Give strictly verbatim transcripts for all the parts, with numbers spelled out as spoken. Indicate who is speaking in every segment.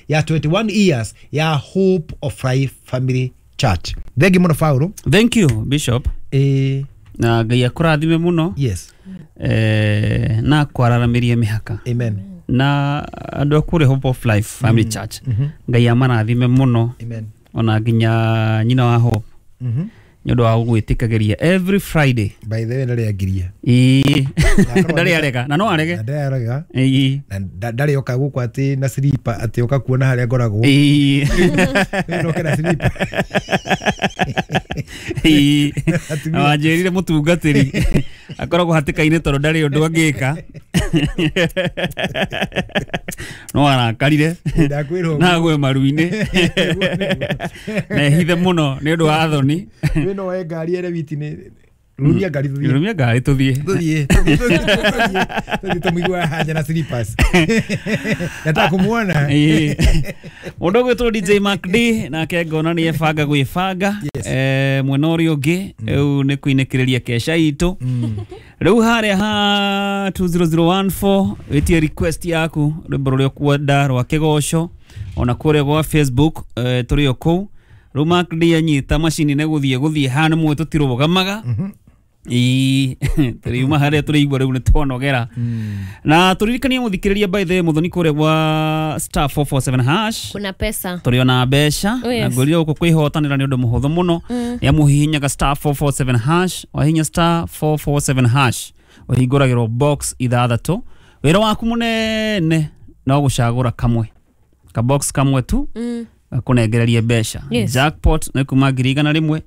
Speaker 1: Ya twenty-one years ya Hope of Life Family Church. Thengi muno, Paulo.
Speaker 2: Thank you, Bishop.
Speaker 1: Eh.
Speaker 2: Na Ngai akũrathime mũno.
Speaker 1: Yes.
Speaker 2: Eh, na kwararamirie mĩhaka.
Speaker 1: Amen.
Speaker 2: Na andũ a kũrĩa Hope of Life Family Church, Ngai amarathime mũno.
Speaker 1: Amen.
Speaker 2: Ona nginya nyina wa Hope
Speaker 1: Mhm.
Speaker 2: nĩ ũndũ wa gũgwĩtĩkagĩria every Friday.
Speaker 1: By the way, ndarĩ angiria.
Speaker 2: Ĩĩ, ndarĩ arega na no arege.
Speaker 1: Na ndarĩ arega.
Speaker 2: Ĩĩ.
Speaker 1: Na nda- ndarĩ oka gũkũ atĩ na silipa atĩ oka kuona harĩa ngoragwo.
Speaker 2: Ĩĩ.
Speaker 1: Rĩu noke na silipa.
Speaker 2: Ĩĩ.
Speaker 1: Atumia.
Speaker 2: Na wanjĩrire mũtungatĩri akoragwo hatĩka-inĩ tondũ ndarĩ ũndũ angĩka, no arakarire.
Speaker 1: Ndakwĩra ũguo.
Speaker 2: Na agwe maru-inĩ na ehithe mũno nĩ ũndũ wa thoni.
Speaker 1: Wĩ no woe ngari ere witi nĩ rumia ngari tũthiĩ.
Speaker 2: Rumia ngari tũthiĩ.
Speaker 1: Tũthiĩ, tũthiĩ, tũthiĩ, tũthiĩ, tũthiĩ tũmũigue hanja na slippers. Nataka kumuona.
Speaker 2: Ĩĩ. Mũndũ ũgwĩtwo D J Mark D nake ngona nĩ ebanga gwĩbanga.
Speaker 1: Yes.
Speaker 2: Eh, mwena ũrĩa ũngĩ rĩu nĩ kũinĩkĩrĩria kesha itũ rĩu harĩa ha two zero zero one four. Wĩtie request yaku, rwĩmbo rũrĩa ũkwenda rwa kĩgoco, ona kũrĩa gwa Facebook eh, tũrĩ o kũu. Rĩu Mark D anyita macini nĩ gũthiĩ gũthiĩ haha nĩ mũĩ tũtirũgamaga. Ĩĩ, tũriuma harĩa tũrĩigua rĩu nĩ twanogera. Na tũririkanie mũthikĩrĩria, by the way, mũthoni, kũrĩa gwa star four four seven hash
Speaker 3: Kuna pesa.
Speaker 2: Tũrĩ ona mbeca.
Speaker 3: Oh, yes.
Speaker 2: Na ngwĩrire gũkũ kwĩhotanĩra nĩ ũndũ mũhũthũ mũno, nĩ amu ũhihinyaga star four four seven hash. Wahihinya star four four seven hash, ũhingũragĩrwo box ithathatũ. Wĩra waku mũnene no gũcagũra kamwe, kabox kamwe tu,
Speaker 3: Mm.
Speaker 2: gakũnengererie mbeca.
Speaker 3: Yes.
Speaker 2: Jackpot nĩ kuma ngiri igana rĩmwe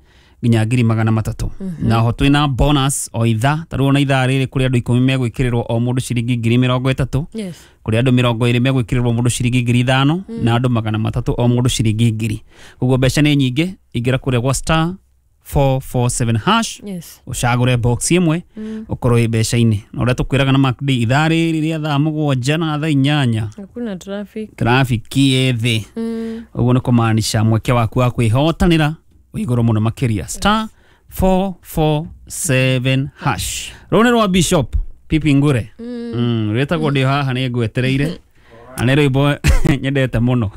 Speaker 2: nginya ngiri magana matatũ. Na ho twĩna bonus o ithaa. Ta rĩu ona ithaa rĩrĩ kũrĩ andũ ikũmi megwĩkĩrĩrwo o mũndũ ciringi ngiri mĩrongo ĩtatũ.
Speaker 3: Yes.
Speaker 2: Kũrĩ andũ mĩrongo ĩrĩ megwĩkĩrĩrwo mũndũ ciringi ngiri ithano, na andũ magana matatũ o mũndũ ciringi ngiri. Koguo mbeca nĩ nyingĩ. Ingĩra kũrĩa gwa star four four seven hash,
Speaker 3: Yes.
Speaker 2: ũcagũre box ĩmwe, ũkorwo wĩ mbeca-inĩ. Na ũrĩa tũkwĩraga na Mark D, ithaa rĩrĩ rĩa thaa mũgwanja na thaa inyanya,
Speaker 3: Hakuna traffic.
Speaker 2: trafiki ĩ thĩ.
Speaker 3: Mm.
Speaker 2: Ũguo nĩ kũmaanisha mweke waku wa kwĩhotanĩra wĩ igũrũ mũno makĩria. star four four seven hash. Rũnĩ rwa Bishop Pipi Ngure mm. rwĩtagwo "Ndĩ Haha Nĩ Ngwetereire", na nĩ rwĩmbo nyendete mũno.